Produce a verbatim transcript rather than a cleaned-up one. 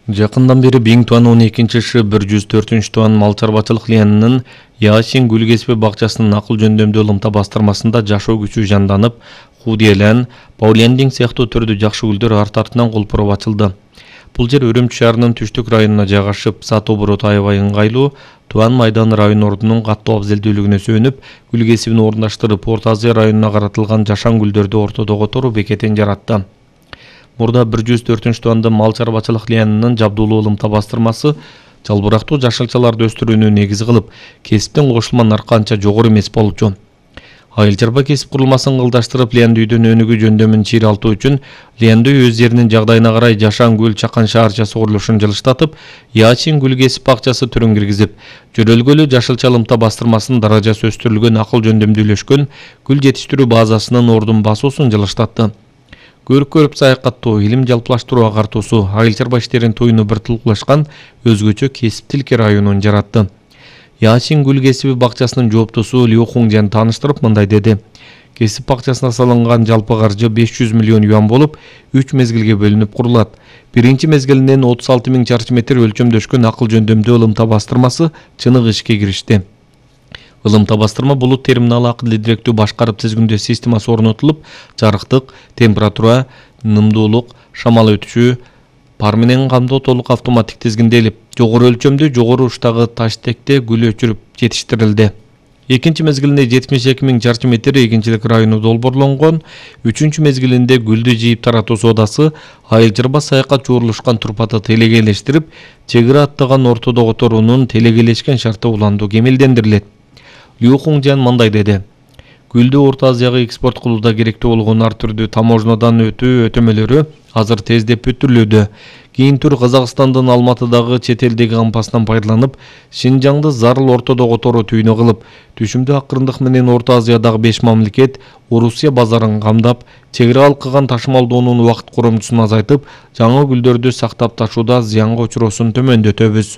Жакындан бери Биң Туан он экинчи шы бир жүз төртүнчү Туан мал чарбачылык лиянынын Яшин гүл кесиби бакчасынын акыл жөндөмдүү ылымта бастырмасында жашоо күчү жанданып, Худиелен, Паулендинг сыяктуу түрдүү жакшы гүлдөр арт артынан колпуроп ачылды. Бул жер Үрүмчү шаарынын түштүк районуна жайгашып, Сат обороту аябай ыңгайлуу, Туан майданы район ордунун каттуу абзелдүүлүгүнө сүйөнүп, гүл кесибин орундаштырып, Орто Азия районуна каратылган жашан гүлдөрдү ортодо которуу бекетин жаратты. Мурда бир жүз төртүнчү Туанды мал чарбачылык лиянынын жабдуулуу ылымта бастырмасы жалбырактуу жашылчаларды өстүрүүнү негизи кылып, кесиптен кошулма наркы анча жогору эмес болчу. Айыл чарба кесип курулмасын ылдыштырып, лиянды үйдүн өнүгүү жөндөмүн чийралтуу үчүн лиянды үй өз жеринин жагдайына карай жашан гүл чакан шаарчасы курулушун жылыштатып, Ячин гүл кесип бакчасы түрүн киргизип, жөрөлгөлүү жашылча ылымта бастырмасынын даражасы өстүрүлгөн акыл жөндөмдүүлөшкөн гүл жетиштирүү базасынын ордун басуусун жылыштатты. Көрүп-көрүп саякаттоо, илим жалпылаштыруу агартуусу, айыл чарба иштерин туюну бир тулкулашкан өзгөчө кесиптилик районун жаратты. Ячин гүл кесиби бакчасынын жооптусу Лю Хунgjан тааныштырып мындай деди. Кесип бакчасына салынган жалпы каржы беш жүз миллион юан болуп, үч мезгилге бөлүнүп курулат. Биринчи мезгилинен отуз алты миң чарчы метр өлчөмдөшкөн акыл жөндөмдүү ылымта бастырмасы чыныгы ишке киришти. Ылымта бастырма булут терминалы акылды директүү башкарып тизгиндөө системасы орнотулуп, жарыктык, температура, нымдуулук, шамал өтүшү, пар менен камдоо толук автоматтик тизгинделип, жогору өлчөмдүү, жогору уштагы таштекте гүл өчүрүп жетиштирилди. Экинчи мезгилинде жетимиш эки миң чарчы метр эгинчилик району долбоорлонгон, үчүнчү мезгилинде гүлдү жыйып таратуу соодасы айыл чарба саякат жуурулушкан турпаты телегейлештирип, чегире аттаган ортодо которуунун телегейлешкен шарты уланду кемелдендирилет. Лю Хунgjан мындай деди. Гүлдү Орто Азияга экспорт кылууда керектүү болгон ар түрдүү таможнядан өтүү өтөмөлөрү азыр тездеп бүтүрүлүүдө. Кийин тур Казакстандын Алматыдагы чет элдеги кампасынан пайдаланып, Шинжаңды зарыл ортодо которуу түйүнү кылып, түшүмдүү акырындык менен Орто Азиядагы беш мамлекет Орусия базарын камдап, чегире алкыган ташымалдоонун убакыт коромчусун азайтып, жаңы гүлдөрдү сактап ташууда зыянга учуроосун төмөндөтөбүз.